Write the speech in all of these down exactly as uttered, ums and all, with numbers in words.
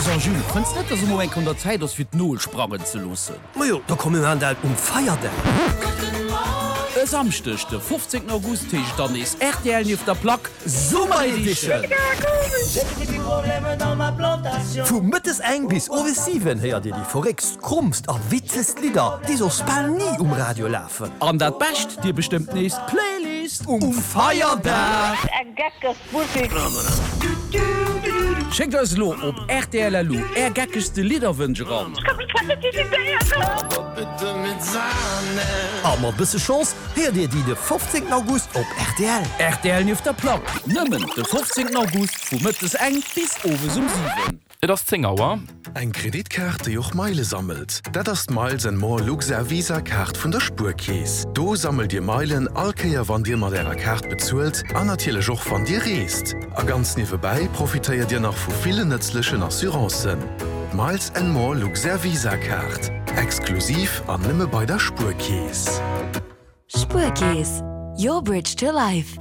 So Jules, fënns net, dass emol eng Kéier un der Zäit ass fir d'Nol sprangen ze loossen? Majo, da komm mir maachen dat um Feierdag. E Samschdeg de fofzéngten August heescht et dann nees rtl nieft der Plack Summer Edition! Vu mëttes eng bis owes siwen héiert dir déi verréckst, krommst a witzegst Lidder, déi soss bal ni um Radio lafen. An dat Bescht, dir bestëmmt nees d'Playlist um Feierdag! Schéckt eis elo op rtl.lu är geckegste Lidderwënsch eran. A mat bësse Chance héiert dir déi de fofzéngten August op rtl. Rtl nieft der Plack, nëmmen de fofzéngten August vu mëttes eng bis owes um siwen. Et ass zéng Auer. Eng Kreditkaart, déi och Meile sammelt? Dat ass d'Miles and More Luxair Visa Kaart vun der Spuerkeess. Do sammelt Dir Meilen all Kéier wann Dir mat Ärer Kaart bezuelt an natierlech och wann Dir reest. A ganz niewebäi profitéiert Dir nach vu villen nëtzlechen Assurancen. D'Miles and More Luxair Visa Kaart, exklusiv an nëmme bei der Spuerkeess. Spuerkeess, your bridge to life.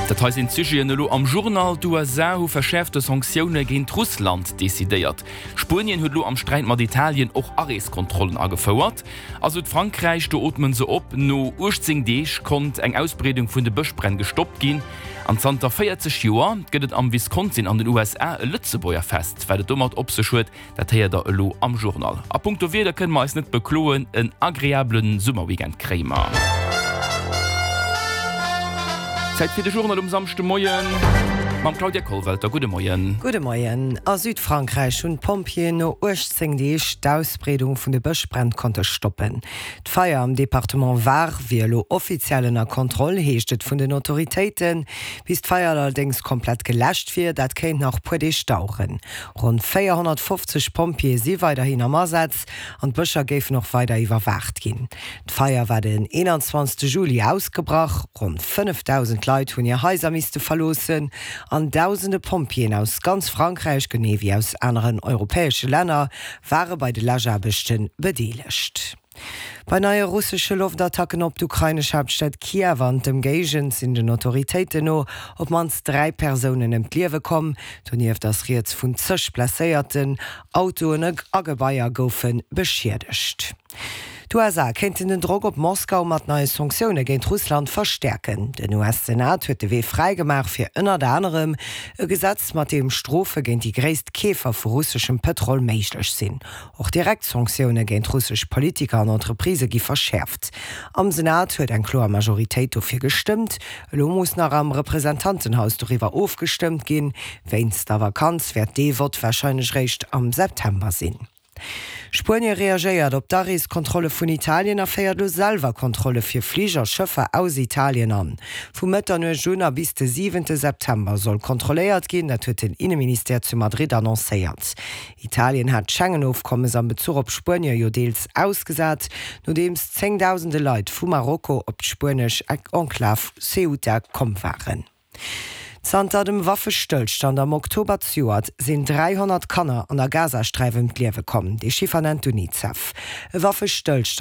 Dat hei sinn d'Sujeten elo am Journal, D'USA hu verschäerfte Sanktioune géint Russland decidéiert. Spuenien huet elo am Sträit mat Italien och Areeskontrollen agefouert. A Südfrankräich, do ootme se op, no uechtzéng Deeg konnt eng Ausbreedung vun de Bëschbränn gestoppt ginn. An zanter véierzeg Joer gëtt et am Wisconsin an den U S A e Lëtzebuerger Fest. Wat et domat op sech huet, dat héiert der elo am Journal. A punkto Wieder kënne mer eis net bekloen, en agreabele Summerweekend kréie mer. Zäit fir de Journal um Samschdemoien mam Claudia Kollwelter. Gudde Moien. Gudde Moien. A Südfrankräich hunn d'Pompjeeën no uechtzéng Deeg d'Ausbreedung vun de Bëschbränn konnte stoppen. D'Feier am Departement Var wier elo offiziell ënner Kontroll, heescht et vun den Autoritéiten. Bis d'Feier allerdéngs komplett geläscht wier, dat kéint nach puer Deeg daueren. Ronn véierhonnertfofzeg Pompjeeë si weiderhin am Asaz an d'Bëscher géifen och weider iwwerwaacht ginn. D'Feier war den eenanzwanzegste Juli ausgebrach. Ronn fënnefdausend Leit hunn hir Haiser misste verloossen an dausende Pompjeeën aus ganz Frankräich, genee wéi aus aneren europäesche Länner, ware bei de Läschaarbechte bedeelegt. Bei neie russesche Loftattacken op d'ukrainesch Haaptstad Kiew an d'Ëmgéigend sinn den Autoritéiten no op d'mannst dräi Persounen ëm d'Liewe komm. Donieft ass rieds vun zeg Blesséierten. Autoen a Gebaier goufe beschiedegt. D'U S A kéinten den Drock op Moskau mat neie Sanktioune géint Russland verstäerken. Den U S-Senat huet de Wee fräi gemaach fir ënnert anerem e Gesetz, mat deem Strofe géint déi gréisst Keefer vu russeschem Pëtrol méiglech sinn. Och direkt Sanktioune géint russesch Politiker an Entreprisë gi verschäerft. Am Senat huet eng kloer Majoritéit dofir gestëmmt. Elo muss nach am Representantenhaus doriwwer ofgestëmmt ginn. Wéinst der Vakanz wäert dee Vott warscheinlech réischt am September sinn. Spuenie reagéiert op d'Areeskontrolle vun Italien a féiert elo selwer Kontrolle fir Fliger a Schëffer aus Italien an. Vu Mëtternuecht un a bis de siwente September soll kontrolléiert ginn, dat huet den Inneministère zu Madrid annoncéiert. Italien hat d'Schengen-Ofkommes am Bezuch op Spuenie jo deels ausgesat, nodeems zéngdausende Leit vu Marokko op d'spuenesch Enklav Ceuta komm waren. Zanter dem Waffestëllstand am Oktober zejoert sinn dräihonnert Kanner an der Gazasträif ëm d'Liewe komm, dee Chiffer nennt d'UNICEF. E Waffestëllstand.